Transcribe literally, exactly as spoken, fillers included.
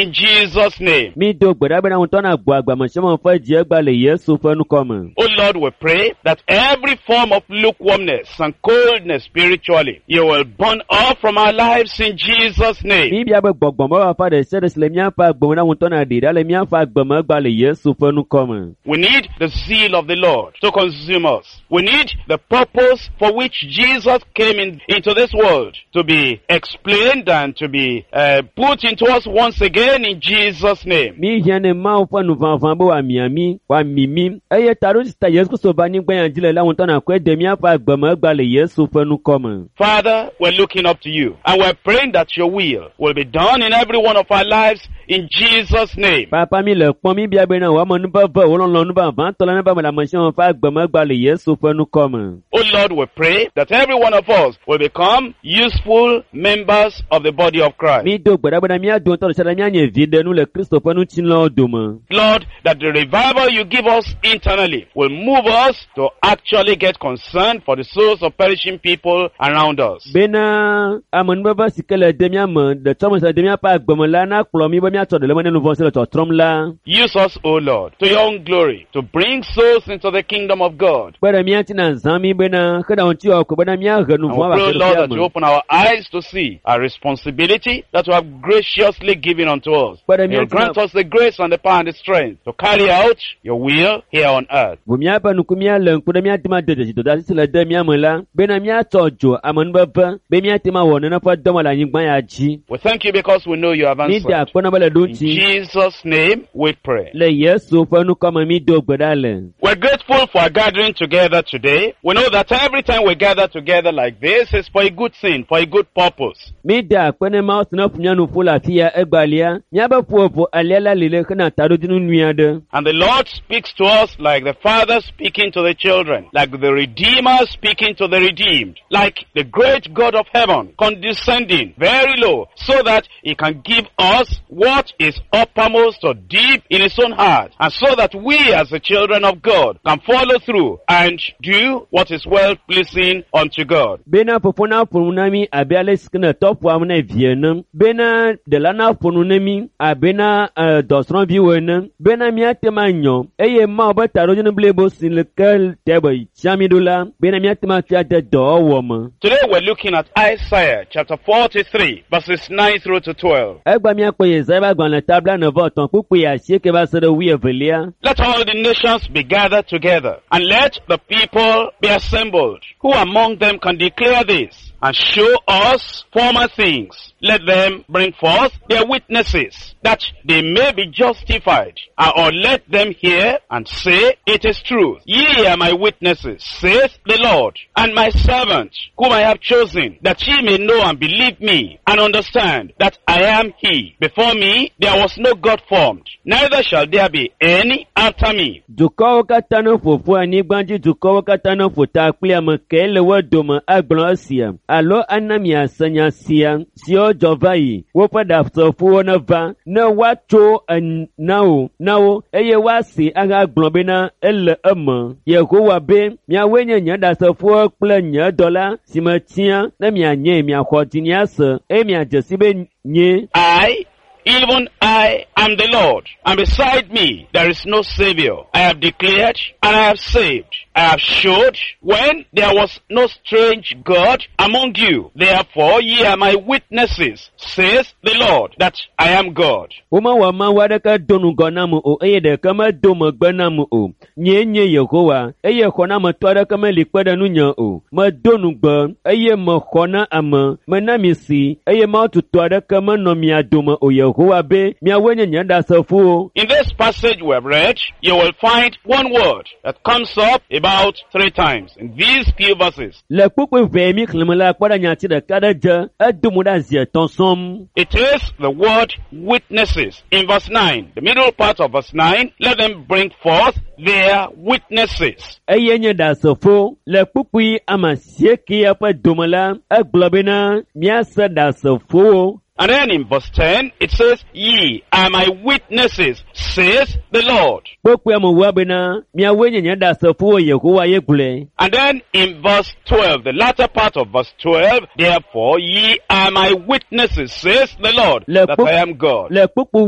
in Jesus' name. Mi do gbe ɖa bena ŋutɔ na gbɔ agbe ame sia ame ƒe dzi egba le Yesu ƒe ŋkɔ me. O Lord, we pray that every form of lukewarmness and coldness spiritually, you will burn off from our lives in Jesus' name. Mi bia be gbɔgbɔmefafa ɖe sia ɖe si le míaƒe agbe me na ŋutɔ na ɖi ɖa le míaƒe agbe me egba le Yesu ƒe ŋkɔ me. We need the zeal of the Lord to consume us. We need the purpose for which Jesus came in, into this world to be explained and to be uh, put into us once again in Jesus' name. Mi hiã ne Mawu ƒe nuʋaʋã be wòamia mí, wòami mí eye taɖo si ta Yesu Kristo va anyigba ya dzi le la ŋutɔ na kɔe de míaƒe agbe me egba le Yesu ƒe ŋkɔ me. Father, we're looking up to you and we're praying that your will will be done in every one of our lives in Jesus' name. Papa mi le kpɔm mi bia bena wò amenuveve wò lɔlɔ̃nu vavãtɔ la neva me le ame sia ame ƒe agbe me egba le Yesu ƒe ŋkɔ me. Oh Lord, we pray that every one of us will become useful members of the body of Christ. Mi do gbe ɖa bena mía dometɔ ɖe sia ɖe míanye viɖenu le Kristo ƒe ŋutilãwo dome. Lord, that the revival you give us internally will move us to actually get concerned for the souls of perishing people around us. Bena amenuveve si ke le de mía me, ɖetsɔme si le de míaƒe agbe me la nakplɔ mí be míatsɔ ɖe le eme ne nu vɔ̃ si le tsɔtrɔm la. Use us, O Lord, to your own glory, to bring souls into the kingdom of God. Kpe ɖe mía ŋuti na zã mí bena xe ɖe ŋuti wɔ ko bena míahe nu And vɔ̃ we ava pray, O Lord, xexea that you me. open our eyes to see our responsibility that you have graciously given unto us. Kpe ɖe mía You ŋuti na grant us the grace and the power and the strength to carry out your will here on earth. Ʋu míaƒe ŋku míalé ŋku ɖe míate ŋu ade dzesi dɔdeasi si le de mía me la bena míatsɔ dzo amenuveve be míate ŋu awɔ nene ƒe dɔme le anyigba ya dzi. We thank you because we know you have Mi da answered. akpe na be le ɖo In ŋuti. Jesus' name we pray. Le Yesu ƒe ŋkɔ me mi do gbe ɖa le. We're grateful for our gathering together today. We know that every time we gather together like this, it's for a good thing, for a good purpose. Mi da akpe ne Mawu si ne ƒo mía nu ƒu le afi ya egbalia. Míabe ƒoƒo alia la li le hena taɖodzinu nyui aɖe. And the Lord speaks to us like the Father speaking to the children, like the Redeemer speaking to the redeemed, like the great God of heaven condescending very low so that he can give us what is uppermost or deep in his own heart, and so that we as the children of God can follow through and do what is well pleasing unto God. Bena fofo na ƒo nu na mí abe ale si ke ne tɔ ƒoam ne vi ene. Bena ɖela na ƒo nu na mí abe na eh, dɔsrɔ̃viwo ene. Bena míate ŋu anyɔ eye Mawu ƒe taɖodzinu blibo si le ke te be tia mí ɖo la bena míate ŋu atsɔe ade dɔwɔwɔ me. Today we're looking at Isaiah chapter forty-three, verses nine through to twelve. Egba míakpɔ Yesaya ƒe agbalẽ ta blaene vɔ etɔ̃ kpukpui asieke va se ɖe wuievelia. Let all the nations be gathered together, and let the people be assembled. Who among them can declare this and show us former things? Let them bring forth their witnesses, that they may be justified. Uh, Or let them hear and say, "It is truth. Ye are my witnesses, saith the Lord, and my servant, whom I have chosen, that ye may know and believe me, and understand that I am he. Before me there was no God formed, neither shall there be any after me." Dukɔwo katã ne ƒoƒu anyigba dzi dukɔwo katã ne ƒo ta kpli ame kae le wo dome agblɔ esia alo ana miase nya sia siwo dzɔ va yi woƒe ɖasefowo neva ne woatso en na wo na wo eye woasi ahagblɔ bena ele eme. Yehowa be miawoe nye nye ɖasefowo kple nye dɔla si metia ne mianye miaxɔ dzinye ase eye miadze si be nye I, even I, am the Lord, and beside me there is no Savior. I have declared and I have saved. I have showed when there was no strange God among you. Therefore ye are my witnesses, says the Lord, that I am God. Womewɔ Mawu aɖeke do ŋgɔ nam o eye ɖeke medo megbe nam o. Nyee nye Yehowa eye xɔnametɔ aɖeke meli kpe ɖe ŋunye o. Medo ŋugbe eye mexɔ na ame. Mena mi si eye Mawu tutɔ aɖeke menɔ mia dome o. Yehowa be miawoe nye nye ɖasefowo. In this passage we have read, you will find one word that comes up about three times in these few verses. Le kpukpui ʋɛ mi xlẽme la kpɔ ɖe nyati ɖeka ɖe dze edo mo ɖe zi etɔ̃ sɔm. It is the word "witnesses" in verse nine. The middle part of verse nine, let them bring forth their witnesses. Eye nye ɖasefo le kpukpui ame asiekea ƒe dome la egblɔ bena míase ɖasefowo. And then in verse ten, it says, "Ye are my witnesses, says the Lord." Kpukpui ame wua bena miawoe nye nye ɖasefowo Yehowa ye gblɔe. And then in verse twelve, the latter part of verse twelve, "Therefore ye are my witnesses, says the Lord, Le that kpuk- I am God." Le kpukpui